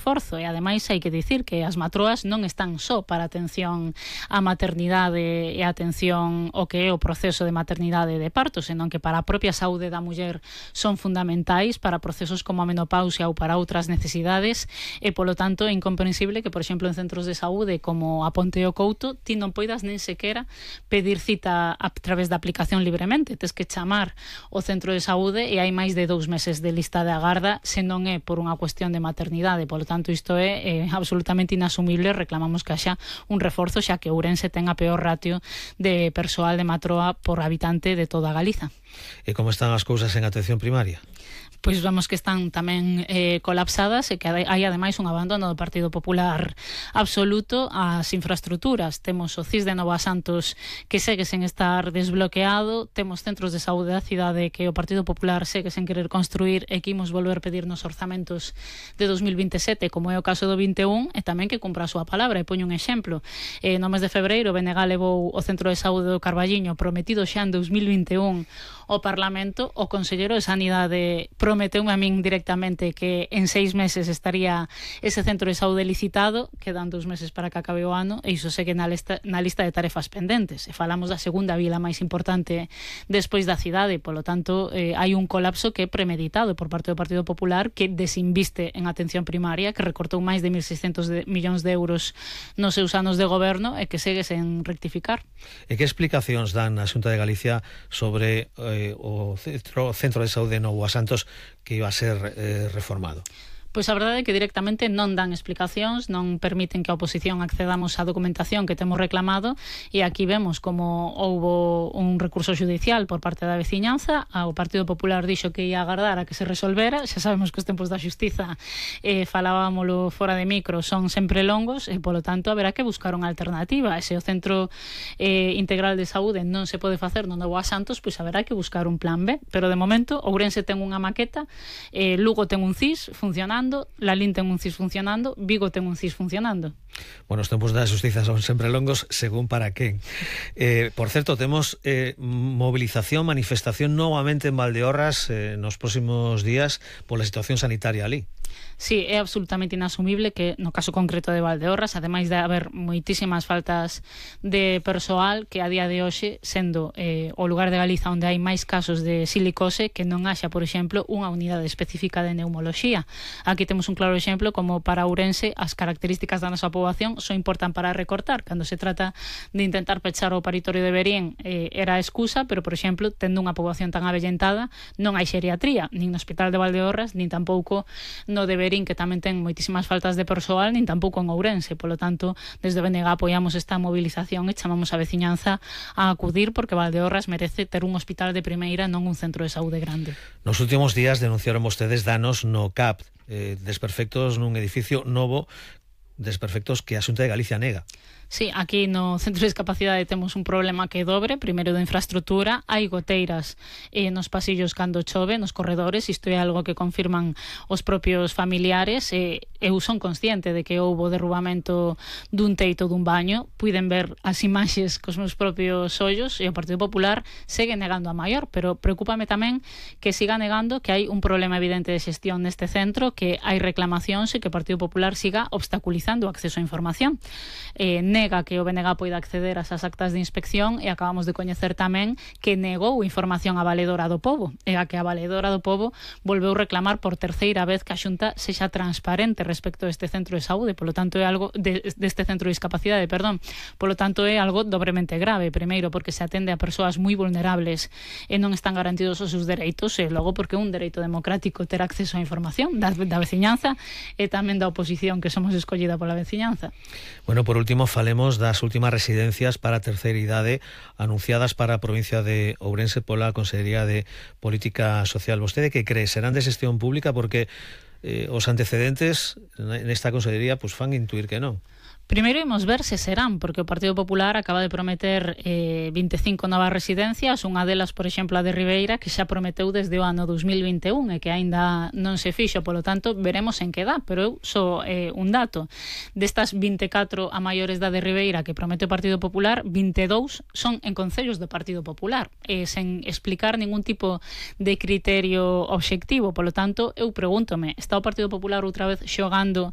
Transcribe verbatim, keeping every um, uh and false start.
reforzo, e ademais hai que dicir que as matroas non están só para atención á maternidade e a atención ao que é o proceso de maternidade e de parto, senón que para a propia saúde da muller son fundamentais para procesos como a menopausia ou para outras necesidades, e polo tanto é incomprensible que, por exemplo, en centros de saúde como a Ponte o Couto ti non poidas nin sequera pedir cita a través da aplicación libremente, tes que chamar o centro de saúde e hai máis de dous meses de lista de agarda se non é por unha cuestión de maternidade. Polo tanto, isto é eh, absolutamente inasumible. Reclamamos que haxa un reforzo, xa que Ourense ten a peor ratio de persoal de matroa por habitante de toda Galiza. E como están as cousas en atención primaria? Pois vemos que están tamén eh, colapsadas e que hai ademais un abandono do Partido Popular absoluto ás infraestructuras. Temos o C I S de Nova Santos que segue sen estar desbloqueado, temos centros de saúde da cidade que o Partido Popular segue sen querer construir e que imos volver pedir nos orzamentos de dos mil vinte e sete, como é o caso do vinte e un, e tamén que cumpra a súa palabra. E poño un exemplo, eh, no mes de febreiro B N G levou o Centro de Saúde do Carballiño prometido xa en dos mil vinte e un ao Parlamento. O Conselleiro de Sanidade prometeume a min directamente que en seis meses estaría ese centro de saúde licitado, quedan dous meses para que acabe o ano, e iso segue na lista, na lista de tarefas pendentes. E falamos da segunda vila máis importante despois da cidade, polo tanto eh, hai un colapso que é premeditado por parte do Partido Popular, que desinviste en atención primaria, que recortou máis de mil seiscentos de, millóns de euros nos seus anos de goberno e que segue sen rectificar. E que explicacións dan a Xunta de Galicia sobre eh, o centro, centro de saúde de Nova Santos que iba a ser eh, reformado? Pois a verdade é que directamente non dan explicacións, non permiten que a oposición accedamos á documentación que temos reclamado, e aquí vemos como houbo un recurso judicial por parte da veciñanza. O Partido Popular dixo que ia agardar a que se resolvera. Xa sabemos que os tempos da xustiza, eh, falábamolo fora de micro, son sempre longos, e polo tanto haberá que buscar unha alternativa. E se o Centro eh, Integral de Saúde non se pode facer no Nova Santos, pois haberá que buscar un plan B. Pero de momento Ourense ten unha maqueta, eh, Lugo ten un C I S funcionando, Lalín ten un C I S funcionando, Vigo ten un C I S funcionando. Bueno, os tempos da xustiza son sempre longos según para quen. Eh, por certo, temos eh, movilización, manifestación novamente en Valdeorras eh, nos próximos días pola situación sanitaria ali. Sí, é absolutamente inasumible que no caso concreto de Valdeorras, ademais de haber moitísimas faltas de persoal, que a día de hoxe, sendo eh, o lugar de Galiza onde hai máis casos de silicose, que non haxa, por exemplo, unha unidade específica de neumoloxía. Aquí temos un claro exemplo como para Ourense as características da nosa poboación son importan para recortar. Cando se trata de intentar pechar o paritorio de Verín eh, era a excusa, pero, por exemplo, tendo unha poboación tan avellentada, non hai xeriatría, nin no Hospital de Valdeorras, nin tampouco no de Verín, que tamén ten moitísimas faltas de persoal, nin tampouco en Ourense. Polo tanto, desde B N G apoiamos esta movilización e chamamos a veciñanza a acudir, porque Valdeorras merece ter un hospital de primeira, non un centro de saúde grande. Nos últimos días denunciaron vostedes danos no C A P, eh, desperfectos nun edificio novo, desperfectos que a Xunta de Galicia nega. Sí, aquí no Centro de Discapacidade temos un problema que é dobre. Primeiro, de infraestructura, hai goteiras eh, nos pasillos cando chove, nos corredores. Isto é algo que confirman os propios familiares. Eh, eu son consciente de que houbo derrubamento dun teito dun baño. Puiden ver as imaxes cos meus propios ollos, e o Partido Popular segue negando a maior, pero preocúpame tamén que siga negando que hai un problema evidente de xestión neste centro, que hai reclamacións e que o Partido Popular siga obstaculizando o acceso á información. Eh, nega que o B N G poida acceder ás actas de inspección, e acabamos de coñecer tamén que negou información a Valedora do Pobo, e a que a Valedora do Pobo volveu reclamar por terceira vez que a Xunta sexa transparente respecto a este centro de saúde. Polo tanto é algo de, deste centro de discapacidade, perdón. Polo tanto é algo dobremente grave. Primeiro, porque se atende a persoas moi vulnerables e non están garantidos os seus dereitos, e logo porque é un dereito democrático ter acceso á información da, da veciñanza e tamén da oposición, que somos escollida pola veciñanza. Bueno, por último, falemos das últimas residencias para a terceira idade anunciadas para a provincia de Ourense pola Consellería de Política Social. Vostede que cree? Serán de xestión pública? Porque eh, os antecedentes nesta Consellería pues, fan intuir que non. Primeiro imos ver se serán, porque o Partido Popular acaba de prometer eh, vinte e cinco novas residencias, unha delas, por exemplo, a de Ribeira, que xa prometeu desde o ano dos mil vinte e un e que aínda non se fixo. Polo tanto, veremos en que dá, pero eu só eh, un dato. Destas vinte e catro a maiores da de Ribeira que promete o Partido Popular, vinte e dous son en concellos do Partido Popular, e sen explicar ningún tipo de criterio obxectivo. Polo tanto, eu pregúntome, está o Partido Popular outra vez xogando